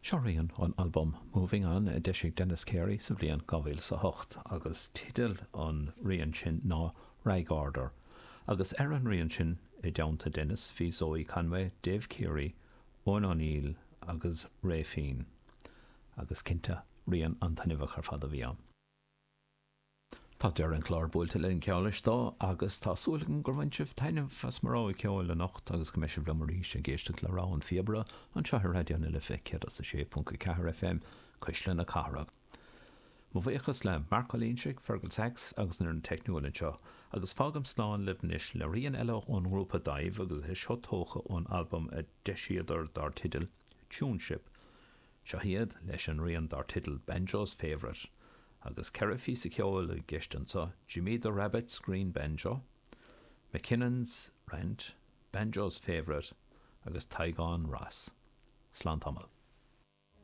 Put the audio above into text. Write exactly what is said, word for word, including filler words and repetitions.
Seo rian ón albam Moving On a d'eisigh Denis Carey sa bhliain dhá mhíle is a hocht agus teideal an rian sin ná Rag Order. Agus ar an rian sin i dteannta Denis bhí Zoe Conway, Dave Keary, Eoin O'Neill agus Ray Finn. Agus cinnte rian an-taitneamhach ar fad a bhí ann. Tá deireadh an chláir buailte linn ceol dó agus tá súil agam gur bhain sibh taitneamh as mo rogha ceoil anocht agus go mbeidh sibh liom arís ag éisteacht le rogha an phíobaire anseo ar Raidió na Life céad is a sé ponc a ceathair FM Cuisle na Cathrach. Mo bhuíochas le Mark Ó Loingsigh, Fergal Sachs agus an fhoireann teicniúil anseo, agus fágaim slán libh anois le rian eile ón ngrúpa Daimh agus é seo tógtha ón albam a d'eisíodar dar teideal Tuneship. Seo iad leis an rian dar teideal Banjo's Favourite. Agus ceithre phíosa ceoil i gceist anseo, Jimmy the Rabbit's Green Banjo, McKinnon's Rant, Banjo's Favourite agus Tigán Ross. Slán tamall.